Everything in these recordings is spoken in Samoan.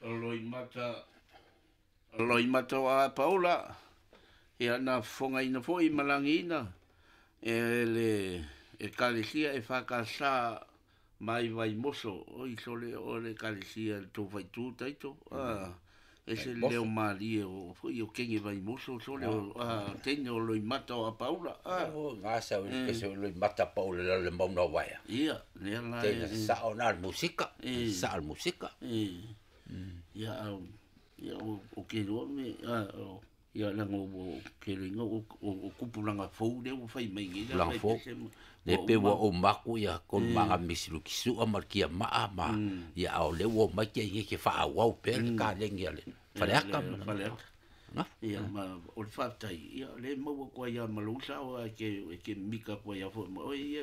Loimata Loimata o Apaula, ia na fofogaina foi ma lagiina e le Ekalesia EFKS mai Vaimoso, oi sole o le Ekalesia le tou faaitu taito, ese le leo malie o foi o kenge Vaimoso sole o teine o Loimata o Apaula. O gasa o le kese o Loimata Paula le le mauna waia. Ia, lea la Teina sao na le musika, sao le musika. Ia au ia o ke loa me o ia laga ua ke loiga o tupulaga fou lea ua fai mai nei la fou. Le pe ua o maku ia kon manga misilu kisua ma kia maa ma ia o le ua mai ke ye ke fa au pe le ka le ngia le faleaka faleaka. Ia ma o le faafetai ia le maua koa ia ma lou sao a ke mika koa ia foi ma oi ia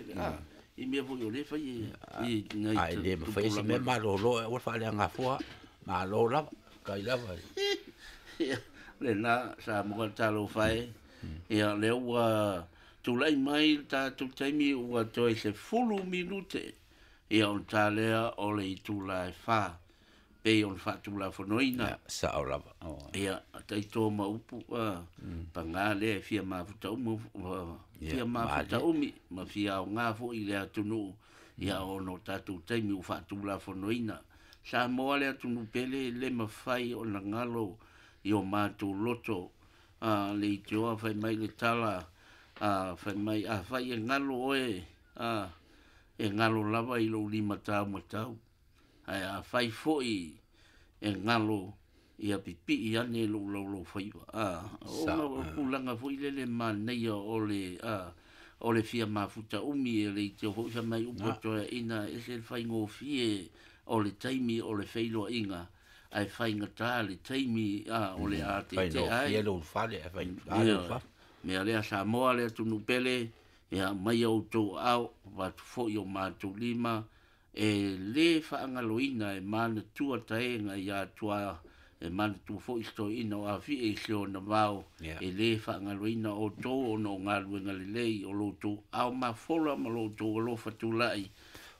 i mea foi o le fai i nai ai le ma fai se me malolo o fa le ngafua malo lava kai lava. Lena sa mo talo fai ia le ua tulai mai le tatou taimi ua toe 10 minute ia on talea o le itula e 4 pei ona faatulafonoina sao lava. Ia taito ma upu pagā lea e fia mafuta uma fia mafuta umi ma fia aoga foi i le atunuu ia ona o tatou taimi ua faatulafonoina. Samoa le atunuu pele le mafai ona galo i o matou loto le itioa fai mai le tala fai mai afai e galo oe e galo lava i lou limatau matau ae afai foi e galo ia pipii ane lou laulau faiva. Ona o tulaga foi lele manaia o le fia mafuta umi e le itio foi fai mai upu toeaina ese le faigofie o le taimi o le feiloaiga ae faigata le taimi o le atete ai. Mea lea Samoa le atunuu pele ia mai outou aao avatu foi o matou lima e lē faagaloina e manatua taega ia tua e manatua foi stoina o afie i se ona vao e lē faagaloina outou ona o galuega lelei o loutou ao mafola ma loutou alofa tulai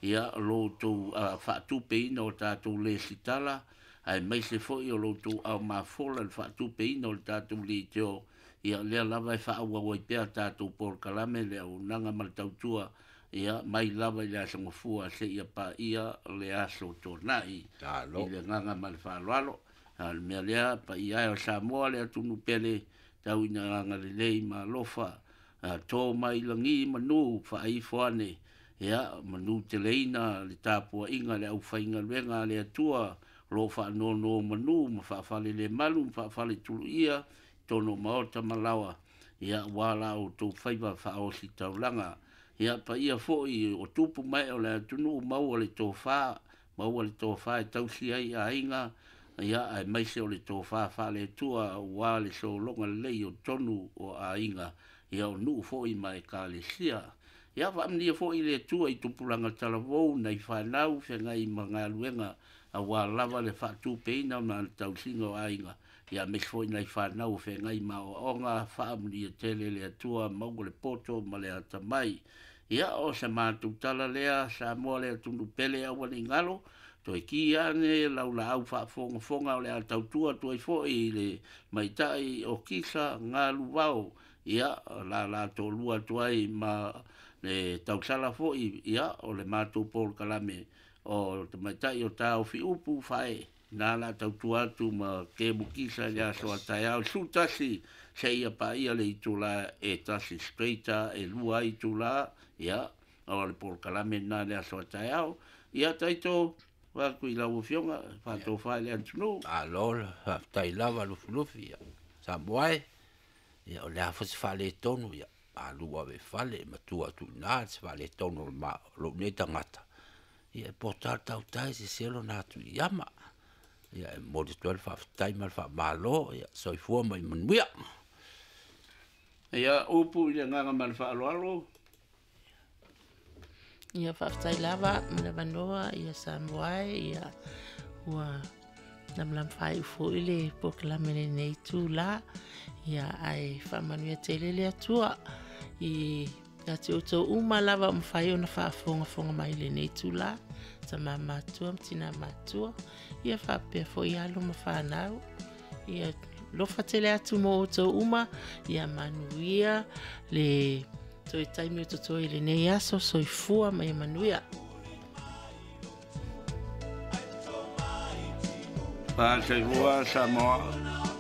ia loutou faatupeina o tatou lesitala ae maise foi o loutou ao mafola le faatupeina o le tatou leitio ia lea lava e faaauau ai pea tatou polokalame le auaunaga ma le tautua ia mai lava i le aso gafua seia paia le aso tonai i le agaga ma le faaaloalo. A le mea lea paia e o Samoa le atunuu pele tau ina agalelei ma alofa to mai lagi manu faaifo ane ia manu teleina le tapuaiga le aufaigaluega a le Atua o loo faanono manu ma faafalelemalu ma faafaletuluia tonu maota ma laoa ia ua la outou faiva faaosi taulaga ia paia foi o tupu mai o le atunuu maua le tofa maua le tofa e tausi ai aiga ia ae maise o le tofa faale-Atua ua le sologa lelei o tonu o aiga ia o nuu foi ma ekalesia. Ia faamanuia foi le Atua i tupulaga talavou nai fanau feagai ma galuega aua lava le faatupeina ma le tausiga o aiga ia aemaise foi nai fanau feagai ma aoaoga faamanuia tele le Atua maua le poto ma le atamai. Ia o se matou tala lea Samoa le atunuu pele aua ne i galo toe ki ane laulaau faafogafoga o le a tautua atu ai foi i le maitai o Kisa Galuvao ia la la tolua atu ai ma le tausala foi ia o le matou polokalame o tamaitai o taofi upu fae na la tautua atu ma kemu kisa i le aso a taeao 11 seia paia le itula e 1 straight e 2 itula ia o le polokalame na le aso a taeao ia taito atu i lau afioga faatofa i le atunuu. Malo faafetai lava Lufilufi ia Samoa e ia o le a foi se faaletonu ia alu ave fale matua atu i ina se faaletonu o lou nei tagata ia e pota le tautai se selo na atu i ama ia e momoli atu ai le faafetai ma le faamalo ia soifua ma ia manuia. Ia upu i le agaga ma le faaaloalo. Ia faafetai lava ma le avanoa ia Samoa e ia ua lamalama faaiu foi le polokalame lenei tula ia ae faamanuia tele le Atua i Ia te outou uma lava o mafai ona faafogafoga mai i lenei itulā, tama matua ma tina matua, ia faapea foi alo ma fanau. Ia lofa tele atu mo outou uma, ia manuia le toe taimi o totoe i lenei aso, soifua ma ia manuia. Faataifua Samoa.